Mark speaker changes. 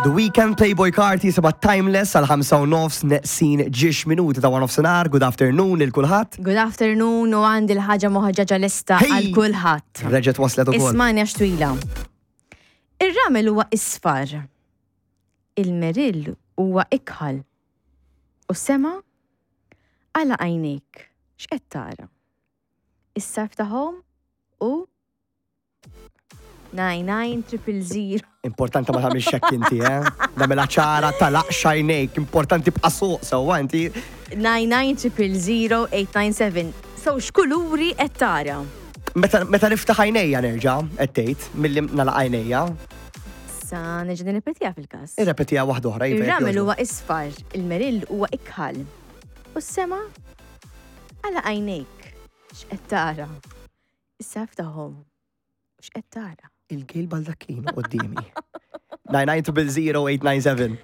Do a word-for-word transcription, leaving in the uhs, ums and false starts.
Speaker 1: The Weeknd, Playboi Carti, seba Timeless għal ħamsa u nofs neqsin ġiex minuti ta' nofsinhar. Good afternoon lil kulħadd.
Speaker 2: Good afternoon, u għandi l-ħaġa moħġaġa lesta
Speaker 1: Hey!
Speaker 2: għal kulħadd.
Speaker 1: Reġet waslet ukoll.
Speaker 2: Ismani għax twila. Ir-ramel huwa isfar. Il-merill huwa ikħal. U sema għala għajnejk. X'qed tara? Issa ftaħhom u nine nine triple zero.
Speaker 1: Importanti ma tagħmilx hekk inti, eh? Nagħmilha ċara, tagħlaq għajnejk, importanti bqa' suq sewwa inti.
Speaker 2: nine nine triple zero eight nine seven. So x'kuluri qed tara?
Speaker 1: Meta meta niftaħ għajnejja nerġa' qed tgħid milli nagħlaq għajnejja.
Speaker 2: Sa nerġa' nirrepetiha fil-każ.
Speaker 1: Irrepetiha waħda oħra, iva, jekk
Speaker 2: Ir-ramel
Speaker 1: jogħġbok.
Speaker 2: huwa isfar, il-merill huwa ikħal. U s-sema għala għajnejk. X'qed tara? Issa ftaħhom. X'qed tara?
Speaker 1: Il-Gail Baldacchino quddiemi. nine nine zero zero eight nine seven.